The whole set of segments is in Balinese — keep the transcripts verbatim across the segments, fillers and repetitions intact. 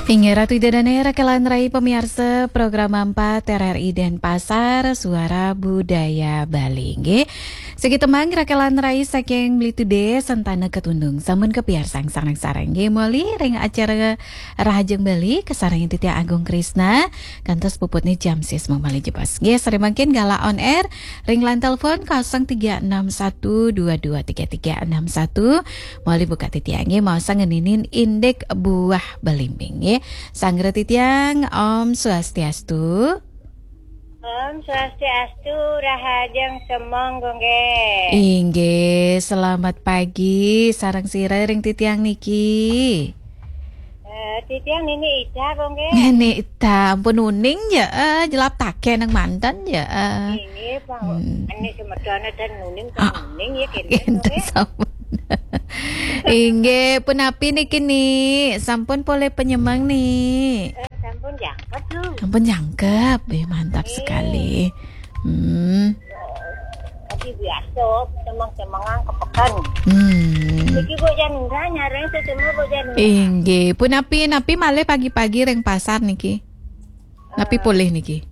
Inggih Ratu Ida Dané, rakelan rai pamiarsa Program Empat R R I Denpasar, Suara Budaya Bali. Inggih. Siki tembang rakelan rai saking Bli Tudé, Sentana Ketundung. Sampun kapiarsang sareng-sareng. Inggih, moli ring acara Rahajeng Bali, kasarengin titiang Agung Krisna, kantos puputné jam sis mung malih jebos. Inggih, sareng mangkin galah on air, ring line telepon kosong tiga enam satu dua dua tiga tiga enam satu. Moli buka titiang, inggih, maosang ngeninin indik buah belimbing, inggih. Sanggra titiang, Om Swastiastu. Om Swastiastu, Rahajeng Semeng, Gung Gé. Inggih, selamat pagi, sareng sira ring titiang niki. Eh, titiang Nini Ida, Gung Gé. Nini Ida, ampun uning ya, eh, jelap takén nang manten ya, eh. Inggih, Pak. Hmm. Ané semedoné ten uning, ten Ah. uning ya, kénten, Kénten Gung Gé. Sampun. Inggih, punapi niki, Ni? Sampun polih penyemeng, Ni? Eh, sampun jangkep, Lu. Sampun jangkep. Eh, mantap Inggih. Sekali. Hmm. Tapi biasa, semeng-semengan kepeken. Hmm. Niki Bok Janura, nyareng sesama Bok Janura. Inggih, punapi, napi malih pagi-pagi ring pasar niki? Napi Eh. polih niki?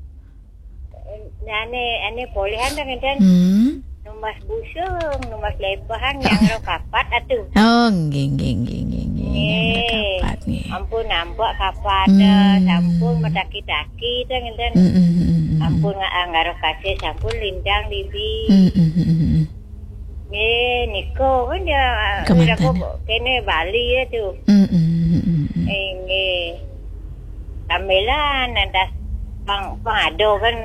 Nah, ané, ané polihan dah ngénten. Hmm. Numbas busung, numbas lebahan, yang lo kapat atuh. Oh, nggih, nggih, nggih, nggih, nggih. Nggih. Yang lo kapat, nggih. Ampun, ampun, kapat, Hmm. sampun mataki-taki, dah ngénten. Hmm, hmm, hmm, hmm, hmm. Ampun, nga-, anggara kasih, sampun lintang, Bibi. Hmm, hmm, hmm, hmm, hmm. Nggih, nika kan ya, Kemanten. Nika kéné Bali ya tuh. Mm, mm, mm, mm, mm. Eh, nggih. Sambilan, ada pang, pang ada kan,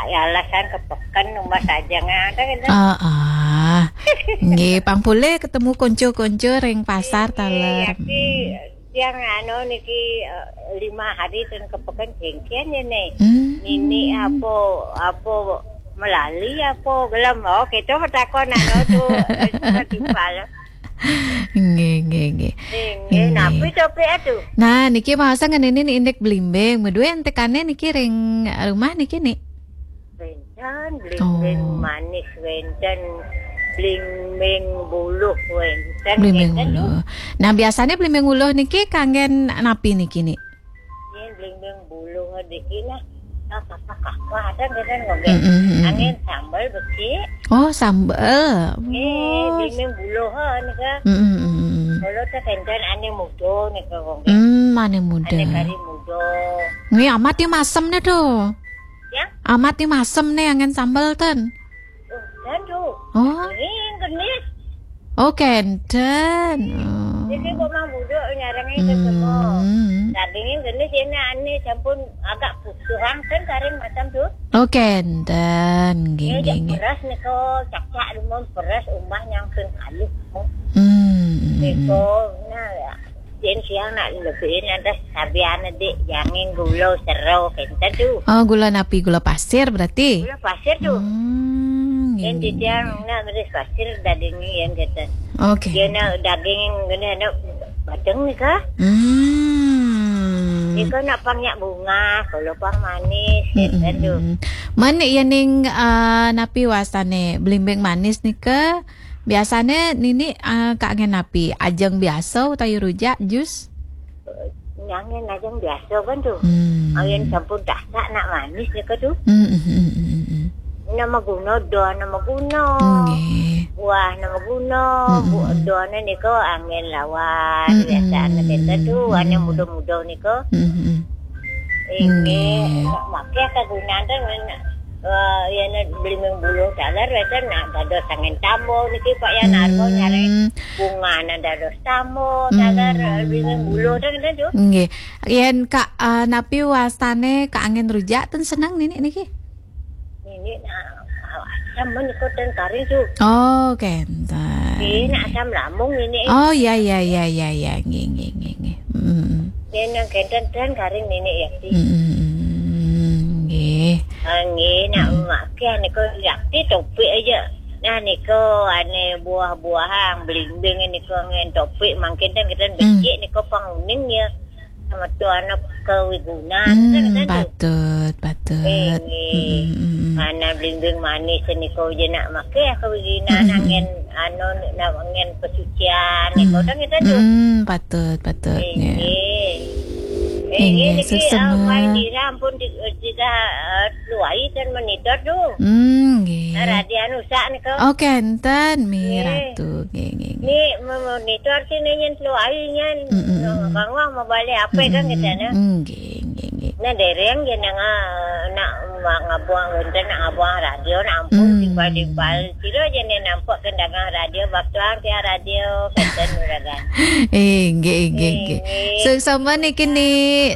ya, alasan kepeken, numbas aja nggak ada kan. Ah, ah. Nggih, pang polih ketemu konco-konco ring pasar. Nggih, taler. Yaki, Hmm. Tiang anu niki, eh, lima hari ten kepeken jengkian ya, nih. Hmm. Nini apa, apa melali apa gelem. Oh, kita bertakon anu tuh, eh, timpal. Nggih, nggih, nggih. Nggih, nggih. Nggih. Napi topik atuh? Nah, niki maosang ngeninin indik belimbing. Medué entekané niki ring rumah niki, Ni? Wénten, blimbing Oh. manis wénten, blimbing buluh wénten, Blimbing ngénten, buluh. Nah, biasané blimbing buluh niki kanggén napi niki, Ni? Yén blimbing buluh niki nah, kakak-kakak ada ngénten, ngénten. Mm-mm, mm-mm. Anggén sambel becik. Oh, sambel. Eh, Oh. Blimbing buluh, ha, nika. Mm-mm, mm-mm. Kalau téh kénten ané muda nika, ngénten. Hmm, ané muda. Ané kari muda. Nggih, amat ya masem né, tuh. Ya? Amat ni masem ni anggén sambel ten. Oh, dan tu. Oh. Ini genis. Oh, kénten. Oh. Jadi kok mang buduk nyarengin ke semua. Hmm. Dagingin genis ini ane sampun agak putuhang kan karing macam tu. Oh, kénten. Nggih, Ini nggih, nggih. Beras ni ko cak-cak rumah beras umbah nyangkeng kayu. Hmm. Ni ko, nah, ya. Yen siang nak lebihin ada sabian dik, jangin gula sero, kénten tu. Oh, gula napi? Gula pasir berarti? Gula pasir tu. Hmm, Yen nggih, titiang nggih. Nak ngeris pasir daging ni yen kénten. Oke. Yen nak daging ngene nak bateng ni kah? Hmm. Ni kah nak pang nyak bunga, kalau pang manis, kénten tu. Hmm. Mana ya ning, eh, napi wasane belimbing manis ni ke? Biasane Nini, ah, kak ngen napi? Ajeng biasa utawi rujak, jus? Nyangen ajeng biasa kan tu. Hmm. Ayen sampun dasak nak manis nika tu. Hmm, hmm, hmm, hmm, hmm. Nama guna, doa nama guna. Nggih. Buah nama guna, Hmm, bu-, hmm. Doane nika angin lawan. Hmm, biasa anak hmm, kita tu, hmm. Anak muda-muda nika. Hmm, hmm. Inggih, nggih. Makai kegunaan tu, eh, ya, nak beli ming buluh taler, biasa nak dados angin tambo niki, Pak, ya, nak argo nyari bunga nak dados tambo, taler, hmm. Beli ming buluh tu, gitu tu. Nggih. Yen kak, eh, napi wastane kak angin rujak ten seneng nini niki? Nini nak, sama niko ten kari tu. Oh, kénten. Nggih, nak asam lambung nini. Oh, ya, ya, ya, ya, ya. Nggih, nggih, nggih, nggih. Hmm. Yen nang kénten ten karing nenek Yakti. Hmm, nggih. Ah, nggih, nak Hmm. Mak Pian niko Yakti topik aja. Nah, niko ane buah-buahan, belimbing niko ngen topik, mangkin ten kita Hmm. becik niko panguning ya. Sama tu anak kewigunan, Hmm, kan, kan tu? Patut, patut. Eh, nggih. Hmm, hmm, hmm. Mana belimbing manis niko je nak makai kewigunan, Hmm, hmm. Ngen anu, nak ngen pesucian, niko Hmm. Kan kita tu. Hmm, patut, patut, ya. Inggih. Inggih, niki, suksema. Ampun di, di, eh, luai ten monitor tu. Hmm, nggih. Radian usak nika. Oh, kenten, Mi Ratu. Nggih, nggih, nggih. Ni memonitor sini nyen luai nyen. Mm, mm, mm. Kangwang mau balik apa kan kita na? Nggih, nggih, nggih. Nah, dereng je nang, ah, nak ma-, ngabuang wonten, nak ngabuang radio, nak ampun, tiba-tiba. Sira je ni nampak kendangan radio, bak tuang tiang radio, kenten uragan. Eh, nggih, nggih, nggih. Suksema niki, Ni.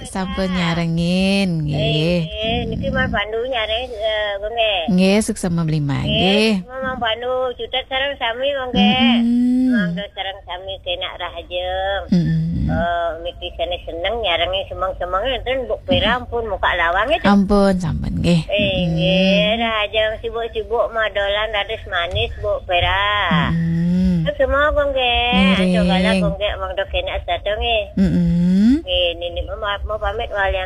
Sampun nyarengin, nggih. Eh, niki Mang Pandu nyareng, eh, Gung, nggih. Nggih, suksema belimbing, nggih. Mang Pandu, cutet sareng sami, Gung, nggih. Mm-mm. Mang Do sareng sami kena rahajeng. Mm-mm. Eh, miki sene seneng nyarengin semeng-semeng enten Buk Pera ampun muka lawang itu. Ampun, sampun, nggih. Eh, nggih, rahajeng sibuk-sibuk madolan raris manis Buk Pera. Mm-mm. Suksema, Gung, nggih. Ngiring. Aja kalah, Gung, nggih, Mang Do kena satu, nggih. Mm-mm. Nggih, nini mau, mau pamit walian.